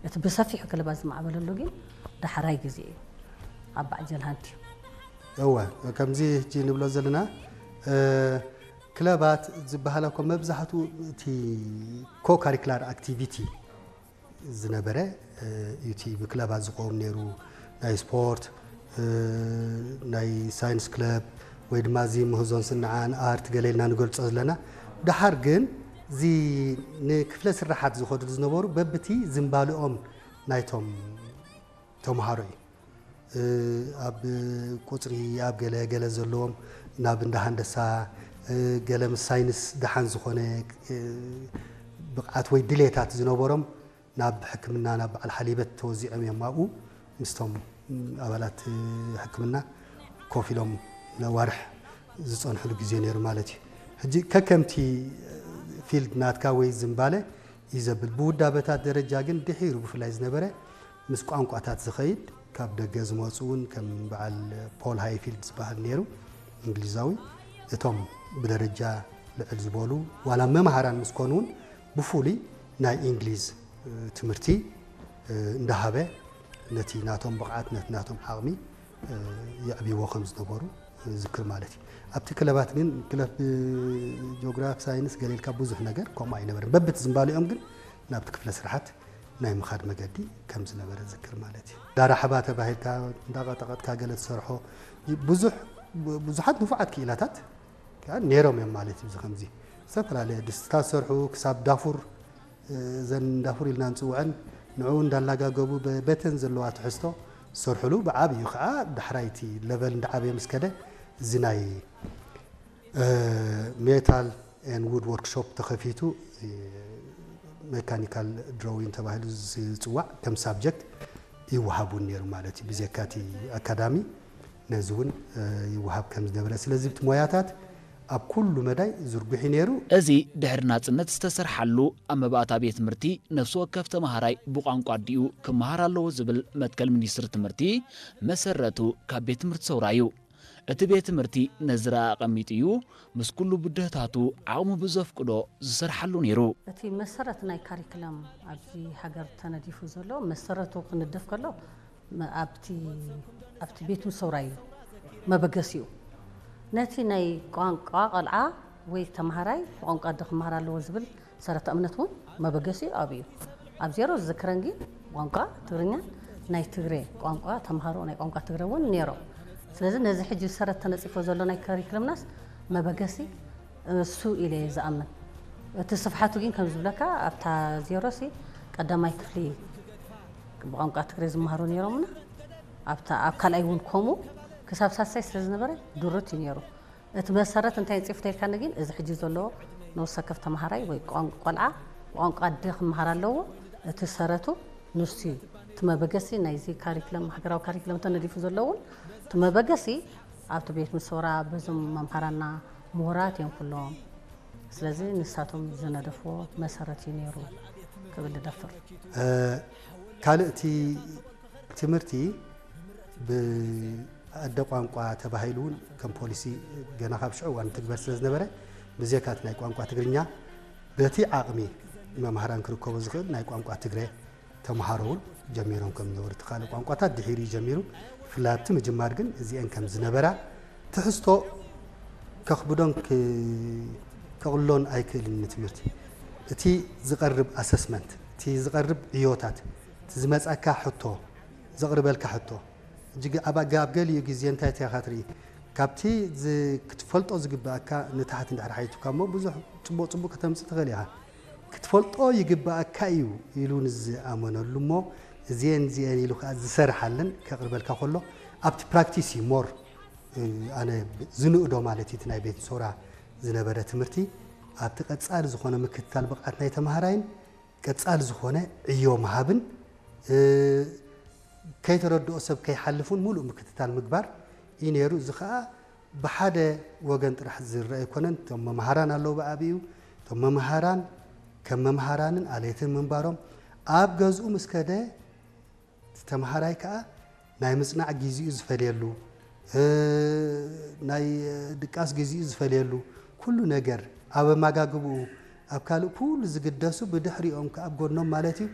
እቲ ብሰፊሑ ክለባት ዝማዕበለሉ ግን ዳሕራይ ግዜ እዩ ኣብ ባዕጀል ሃንት እዩ። እወ ከምዚ ሕጂ ንብሎ ዘለና ክለባት ዝበሃል እኮ መብዛሕትኡ እቲ ኮካሪክላር ኣክቲቪቲ ዝነበረ እዩ። እቲ ብክለባት ዝቆም ነይሩ ናይ ስፖርት፣ ናይ ሳይንስ ክለብ ወይ ድማ እዚ ምህዞን ስንዓን ኣርት ገለ ኢልና ንገልጾ ዘለና። ደሓር ግን እዚ ንክፍለ ስራሓት ዝኸዱ ዝነበሩ በብቲ ዝንባልኦም ናይቶም ተምሃሮ እዩ። ኣብ ቁፅሪ ኣብ ገለ ገለ ዘለዎም ናብ እንዳ ሃንደሳ ገለ ምስ ሳይንስ ደሓን ዝኾነ ብቕዓት ወይ ድሌታት ዝነበሮም ናብ ሕክምና ናብ በዓል ሓሊበት ተወዚዖም እዮም። ኣብኡ ምስቶም ኣባላት ሕክምና ኮፍ ኢሎም ነዋርሕ ዝፀንሕሉ ግዜ ነይሩ ማለት እዩ። ሕጂ ከከምቲ ፊልድ ናትካ ወይ ዝንባለ እዩ ዘብል። ብውዳበታት ደረጃ ግን ድሒሩ ብፍላይ ዝነበረ ምስ ቋንቋታት ዝኸይድ ካብ ደገ ዝመፁ እውን ከም በዓል ፖል ሃይፊልድ ዝበሃል ነይሩ እንግሊዛዊ እቶም ብደረጃ ልዕል ዝበሉ ዋላ መምሃራን ምስ ኮኑ እውን ብፍሉይ ናይ እንግሊዝ ትምህርቲ እንዳሃበ ነቲ ናቶም ብቕዓት ነቲ ናቶም ዓቕሚ የዕብይዎ ከም ዝነበሩ ዝክር ማለት እዩ። ኣብቲ ክለባት ግን ክለብ ጂኦግራፊ ሳይንስ ገለ ኢልካ ብዙሕ ነገር ከምኡ ኣይነበረን። በብቲ ዝንባሊኦም ግን ናብቲ ክፍለ ስራሓት ናይ ምኻድ መገዲ ከም ዝነበረ ዝክር ማለት እዩ። ዳራሕባ ተባሂልካ እንዳቐጠቐጥካ ገለ ትሰርሖ ብዙሕ ብዙሓት ንፉዓት ክኢላታት ከዓ ነይሮም እዮም ማለት እዩ። ከምዚ ዝተፈላለየ ድስትታት ዝሰርሑ ክሳብ ዳፉር እዘን ዳፉር ኢልና ንፅውዐን ንዕኡ እንዳላጋገቡ በተን ዘለዋ ትሕዝቶ ዝሰርሕሉ ብዓብዩ ከዓ ዳሕራይቲ ለቨል እንዳዓበየ ምስ ከደ እዚ ናይ ሜታል ኤን ውድ ወርክሾፕ ተኸፊቱ ሜካኒካል ድሮዊን ተባሂሉ ዝፅዋዕ ከም ሳብጀክት ይወሃብ እውን ነይሩ ማለት እዩ። ብዘካቲ ኣካዳሚ ነዚ እውን ይወሃብ ከም ዝነበረ ስለዚ እቲ ሞያታት ኣብ ኩሉ መዳይ ዝርጉሕ ነይሩ። እዚ ድሕሪ ናጽነት ዝተሰርሓሉ ኣብ መባእታ ቤት ትምህርቲ ነፍሲ ወከፍ ተመሃራይ ብቋንቋ ኣዲኡ ክመሃር ኣለዎ ዝብል መትከል ሚኒስትሪ ትምህርቲ መሰረቱ ካብ ቤት ትምህርቲ ሰውራ እዩ። እቲ ቤት ትምህርቲ ነዚ ረኣ ኣቐሚጡ እዩ ምስ ኩሉ ብድህታቱ ዓቕሙ ብዘፍቅዶ ዝሰርሓሉ ነይሩ። እቲ መሰረት ናይ ካሪክለም ኣብዚ ሃገር ተነዲፉ ዘሎ መሰረቱ ክንደፍ ከሎ ኣብቲ ኣብቲ ቤት ምሰውራይ እዩ መበገሲኡ። ነቲ ናይ ቋንቋ ቆልዓ ወይ ተምሃራይ ብቋንቋ ኣደ ክመሃር ኣለዎ ዝብል ሰረተ እምነት እውን መበገሲኡ ኣብኡ እዩ። ኣብ ዜሮ ዝዝክረን ግን ቋንቋ ትግርኛን ናይ ትግሬ ቋንቋ ተምሃሮ ናይ ቋንቋ ትግረ እውን ነይሮም። ስለዚ ነዚ ሕጂ ሰረት ተነፂፎ ዘሎ ናይ ከሪክለምናስ መበገሲ እሱ ኢለ እየ ዝኣምን። እቲ ስፍሓቱ ግን ከም ዝብለካ ኣብታ ዜሮ ሲ ቀዳማይ ክፍሊ ብቋንቋ ትግረ ዝመሃሩ ነይሮምና ኣብታ ኣብ ካልኣይ እውን ከምኡ ክሳብ ሳሳይ ስለ ዝነበረ ድሩት እዩ ነይሩ። እቲ መሰረት እንታይ ንፅፍ ተልካኒ ግን እዚ ሕጂ ዘሎ ንወሰከፍ ተምሃራይ ወይ ቆልዓ ብቋንቋ ኣደ ክመሃር ኣለዎ። እቲ ሰረቱ ንሱ እዩ። እቲ መበገሲ ናይዚ ካሪክለም ሃገራዊ ካሪክለም ተነዲፉ ዘሎ እውን እቲ መበገሲ ኣብቲ ቤት ምሰውራ በዞም መምሃራና ምሁራት እዮም ኩሎም። ስለዚ ንሳቶም ዝነደፍዎ መሰረት እዩ ነይሩ ክብል እደፍር። ካልእ እቲ ትምህርቲ ብኣደ ቋንቋ ተባሂሉ እውን ከም ፖሊሲ ገና ካብ ሽዑ እዋን ትግበር ስለ ዝነበረ ብዜካ እቲ ናይ ቋንቋ ትግርኛ በቲ ዓቕሚ መምሃራን ክርከቦ ዝኽእል ናይ ቋንቋ ትግረ ተምሃሮ እውን ጀሚሮም ከም ዝነበሩ እቲ ካልእ ቋንቋታት ድሒሩ እዩ ጀሚሩ። ብፍላይ ኣብቲ ምጅማር ግን እዚአን ከም ዝነበራ ትሕዝቶ ከኽብዶን ከቕሎን ኣይክእልን ንትምህርቲ። እቲ ዝቐርብ ኣሰስመንት፣ እቲ ዝቐርብ ዕዮታት፣ እቲ ዝመፃካ ሕቶ፣ ዘቕርበልካ ሕቶ እጅግ ኣብ ገሊኡ ግዜ እንታይ ኢኻ ትርኢ ካብቲ ክትፈልጦ ዝግብኣካ ንታሕቲ እንድሕር ሓይቱካ እሞ ብዙሕ ፅቡቕ ፅቡቕ ከተምፅእ ትኽእል ኢኻ። ክትፈልጦ ይግብኣካ እዩ ኢሉ ንዝኣመነሉ እሞ እዚአን እዚአን ኢሉ ከዓ ዝሰርሓለን ከቕርበልካ ከሎ ኣብቲ ፕራክቲስ እዩ ሞር ኣነ ዝንእዶ ማለት እዩ እቲ ናይ ቤት ሶራ ዝነበረ ትምህርቲ ኣብቲ ቀፃሊ ዝኾነ ምክትታል ብቕዓት ናይ ተምሃራይን ቀፃሊ ዝኾነ ዕዮ ምሃብን ከይተረድኦ ሰብ ከይሓልፍ እውን ሙሉእ ምክትታል ምግባር እዩ ነይሩ። እዚ ከዓ ብሓደ ወገን ጥራሕ ዝረአ ኣይኮነን። እቶም መምሃራን ኣለዉ ብዓብኡ እቶም መምሃራን ከም መምሃራንን ኣለይትን ምንባሮም ኣብ ገዝኡ ምስ ከደ እቲ ተምሃራይ ከዓ ናይ ምፅናዕ ግዚኡ ዝፈልየሉ ናይ ድቃስ ግዚኡ ዝፈልየሉ ኩሉ ነገር ኣብ ኣመጋግብኡ ኣብ ካልእ ኩሉ ዝግደሱ ብድሕሪኦም ከዓ ኣብ ጎኖም ማለት እዩ